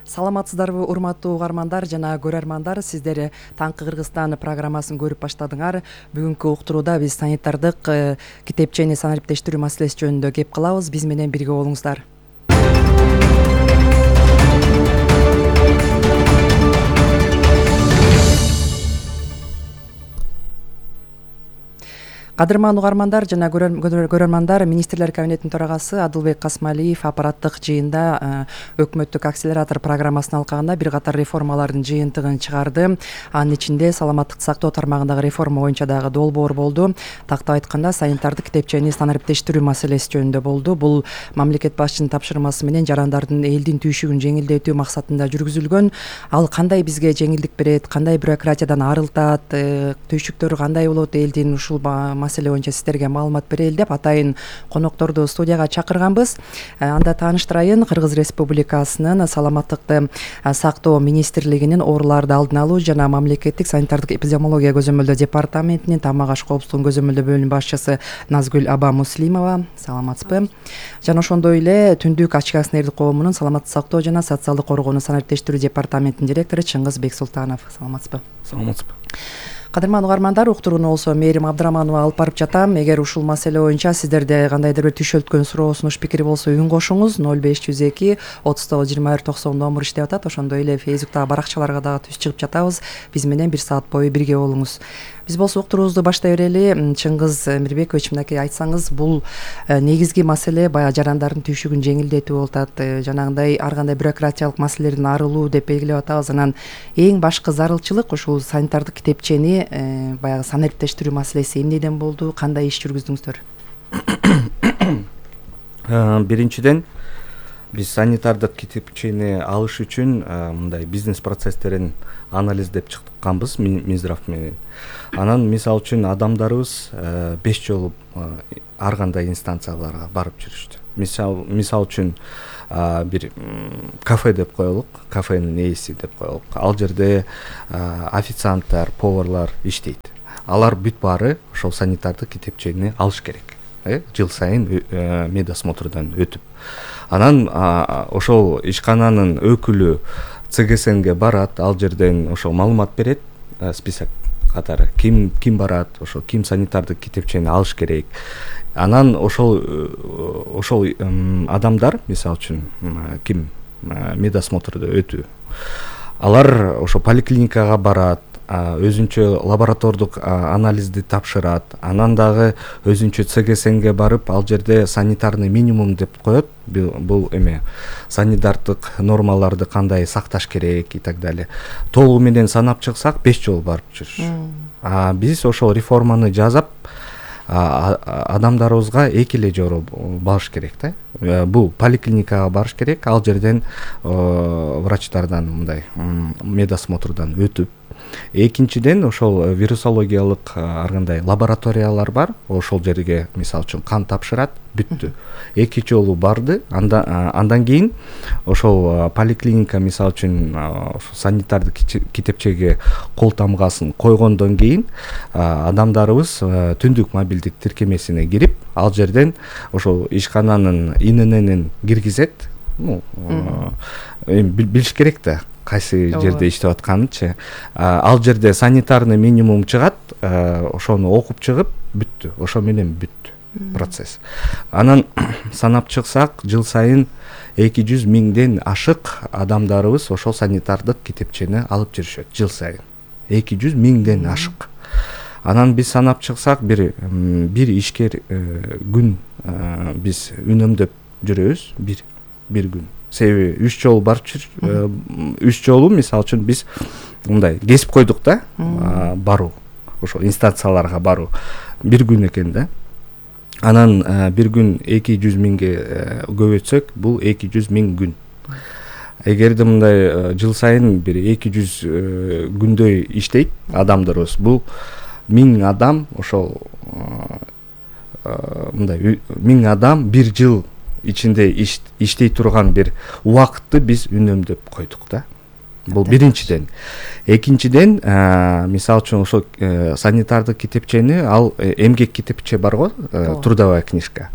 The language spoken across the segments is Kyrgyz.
Саламатсыздарбы урматтуу угармандар жана көрөрмандар, сиздер Таңкы Кыргызстан программасын көрүп баштадыңар. Бүгүнкү уктурууда биз санитардык китепчени санариптештирүү маселеси жөнүндө кеп кылабыз. Биз менен бирге болуңуздар. Кадырман угармандар жана көрөрмандар, Министрлер кабинетинин төрагасы Адылбек Касмалиев аппараттык жыйында өкмөттүк акселератор программасын алкагында бир катар реформалардын жыйынтыгын чыгарды. Анын ичинде саламаттыкты сактоо тармагындагы реформа боюнча дагы долбоор болду. Тактап айтканда, санитардык китепчени санариптештирүү маселеси жөнүндө болду. Бул мамлекет башчынын тапшырмасы менен жарандардын элдин түйшүгүн жеңилдетүү максатында жүргүзүлгөн. Ал кандай бизге жеңилдик берет, кандай бюрократиядан арылтат, түйшүктөрү кандай болот, элдин ушул маселе боюнча сиздерге маалымат берели деп атайын конокторду студияга чакырганбыз. Анда тааныштырайын, Кыргыз Республикасынын саламаттыкты сактоо министрлигинин ооруларды алдын алуу жана мамлекеттик санитардык эпидемиология көзөмөлдөө департаментинин тамак аш коопсуздугун көзөмөлдөө бөлүмүнүн башчысы Назгүл Аба Муслимова. Саламатсызбы? Жана ошондой эле Түндүк ачык акционердик коомунун саламаттык сактоо жана социалдык коргоону санариптештирүү департаментинин директору Чыңгыз Бексултанов. Саламатсызбы? Саламатсызбы. Кадырман угармандар, уктурууну болсо Мээрим Абдыраманова алып барып жатам. Эгер ушул маселе боюнча сиздерде кандайдыр бир түшөлткөн суроо, сунуш, пикир болсо үн кошуңуз. 0502 39 21 90 номер иштеп атат. Ошондой эле Фейсбуктагы баракчаларга дагы түз чыгып жатабыз. Биз менен бир саат бою бирге болуңуз. Биз болсо уктуруубузду баштай берели. Чыңгыз Мирбекович, мынакей айтсаңыз, бул негизги маселе баягы жарандардын түйшүгүн жеңилдетүү болуп атат. Жанагындай ар кандай бюрократиялык маселелерден арылуу деп белгилеп атабыз. Анан эң башкы зарылчылык ушул санитардык китепчени баягы санариптештирүү маселеси эмнеден болду, кандай иш жүргүздүңүздөр? Биринчиден, биз санитардык китепчени алыш үчүн мындай бизнес процесстерин анализдеп чыкканбыз Минздрав менен. Анан мисалы үчүн адамдарыбыз 5 жолу ар кандай инстанцияларга барып жүрүштү. Мисалы үчүн бир кафе деп коелук, кафенин ээси деп коелук. Ал жерде официанттар, поварлар иштейт. Алар бүт баары ошол санитардык китепчени алыш керек. Жыл сайын медосмотрдон өтүп. Анан ошол ишкананын өкүлү ЦГСНге барат, ал жерден ошол маалымат берет, список катары ким барат, ошол ким санитардык китепчени алыш керек. Анан ошол адамдар, мисалы үчүн, ким медосмотрдо өтүү, алар ошо поликлиникага барат, өзүнчө лаборатордук анализди тапшырат, анан дагы өзүнчө ЦГСНге барып, ал жерде санитарный минимум деп коет. Бул санитардык нормаларды кандай сакташ керек и так далее. Толугу менен санап чыксак 5 жолу барып жүрүш. Биз ошол реформаны жасап, адамдарыбызга эки эле жолу барыш керек да. Бул поликлиникага барыш керек, ал жерден врачтардан мындай медосмотрдан өтүп. Экинчиден, ошол вирусологиялык ар кандай лабораториялар бар, ошол жерге мисалы үчүн кан тапшырат, бүттү. 2 жолу барды, андан кийин ошол поликлиника мисалы үчүн санитардык китепчеге кол тамгасын койгондон кийин адамдарыбыз түндүк мобилдик тиркемесине кирип, ал жерден ошол ишкананын ИНН киргизет. Билиш керек да, кайсы жерде иштеп атканынчы. Ал жерде санитарный минимум чыгат, ошону окуп чыгып бүттү. Ошо менен бүттү процесс. Анан санап чыксак, жыл сайын 200 миңден ашык адамдарыбыз ошол санитардык китепчени алып жүрүшөт жыл сайын. 200 миңден ашык. Анан биз санап чыксак, бир ишкер күн биз үнөмдөп жүрөбүз, бир күн. Себеби 3 жолу барып 3 жолу мисалы үчүн биз мындай кесип койдук да, баруу, ошол инстанцияларга баруу. Бир күн экен да. Анан бир күн 200 миңге көбөйтсөк, бул 200 миң күн. Эгерде мындай жыл сайын бир 200 күндөй иштейт адамдарыбыз, бул 1000 адам, ошол мындай 1000 адам бир жыл ичинде иштей турган бир убакытты биз үнөмдөп койдук да. Бул биринчиден. Экинчиден, мисалы үчүн ошо санитардык китепчени, ал эмгек китепче бар го, трудовая книжка.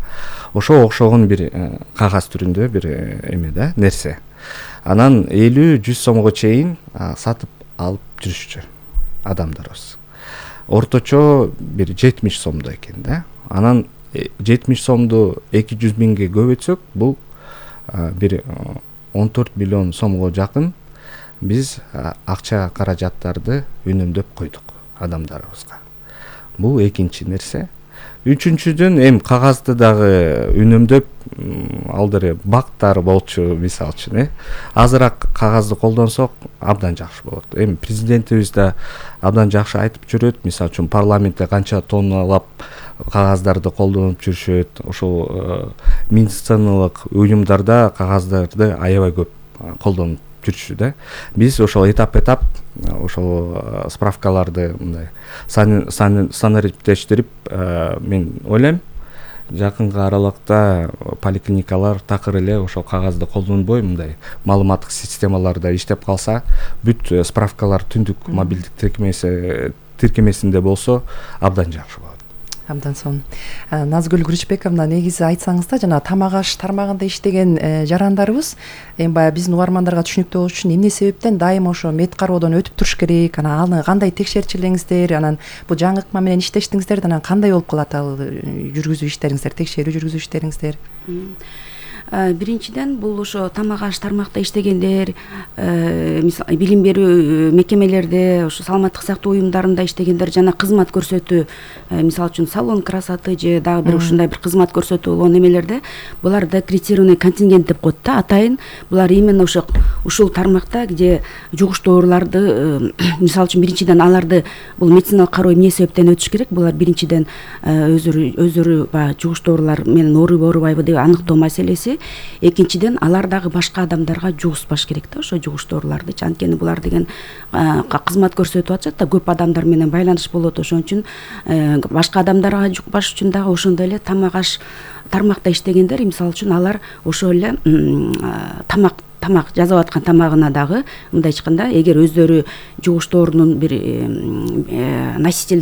Ошо окшогон бир кагаз түрүндө бир эме да, нерсе. анан 50-100 сомго чейин сатып алып жүрүшчү адамдарыбыз. Орточо бир 70 сомдо экен да. Анан 70 сомду 200 миңге көбөйтсөк, бул бир 14 миллион сомго жакын биз акча каражаттарды үнөмдөп койдук адамдарыбызга. Бул экинчи нерсе. Үчүнчүдөн кагазды дагы үнөмдөп алдыры бактар болчу, мисалы үчүн азыраак кагазды колдонсок абдан жакшы болот. Президентибиз да абдан жакшы айтып жүрөт, мисалы үчүн парламентте канча тонналап кагаздарды колдонуп жүрүшөт. Ошол медициналык уюмдарда кагаздарды аябай көп колдонуп жүрүшү да. Биз ошол этап ошол справкаларды мындай санариптештирип, мен ойлойм жакынкы аралыкта поликлиникалар такыр эле ошол кагазды колдонбой мындай маалыматтык системаларда иштеп калса, бүт справкалар түндүк мобилдик тиркемесинде болсо абдан жакшы болот. Абдан сонун. Назгүл Күрүчбековна, негизи айтсаңыз да, жана тамак аш тармагында иштеген жарандарыбыз баягы биздин угармандарга түшүнүктүү болуш үчүн эмне себептен дайыма ошо мед кароодон өтүп туруш керек, анан аны кандай текшерчилеңиздер, анан бул жаңы ыкма менен иштештиңиздер, анан кандай болуп калат ал жүргүзүү иштериңиздер, текшерүү жүргүзүү иштериңиздер? Биринчиден бул ошо тамак аш тармакта иштегендер, мисалы билим берүү мекемелерде, ошо саламаттык сактоо уюмдарында иштегендер жана кызмат көрсөтүү, мисалы үчүн салон красоты же дагы бир ушундай бир кызмат көрсөтүү болгон эмелерде буларды аккредитированный контингент деп коет да, атайын. Булар именно ушул тармакта, где жугуш дооруларды, мисалы үчүн биринчиден аларды бул медициналык кароо эмне себептен өтүш керек? Булар биринчиден өздөрү баягы жугуш доорулар менен ооруйбу оорубайбы деп аныктоо маселеси. Экинчиден алар дагы башка адамдарга жугузбаш керек да, ошо жугуш дооруларды. Анткени булар деген кызмат көрсөтүп атышат да, көп адамдар менен байланыш болот. Ошон үчүн башка адамдарга жукпаш үчүн дагы ошондой эле тамак аш тармакта иштегендер, мисалы үчүн алар ошол эле тамак жасап аткан тамагына дагы мындай айтканда, эгер өздөрү жугуш доорунун бир носителди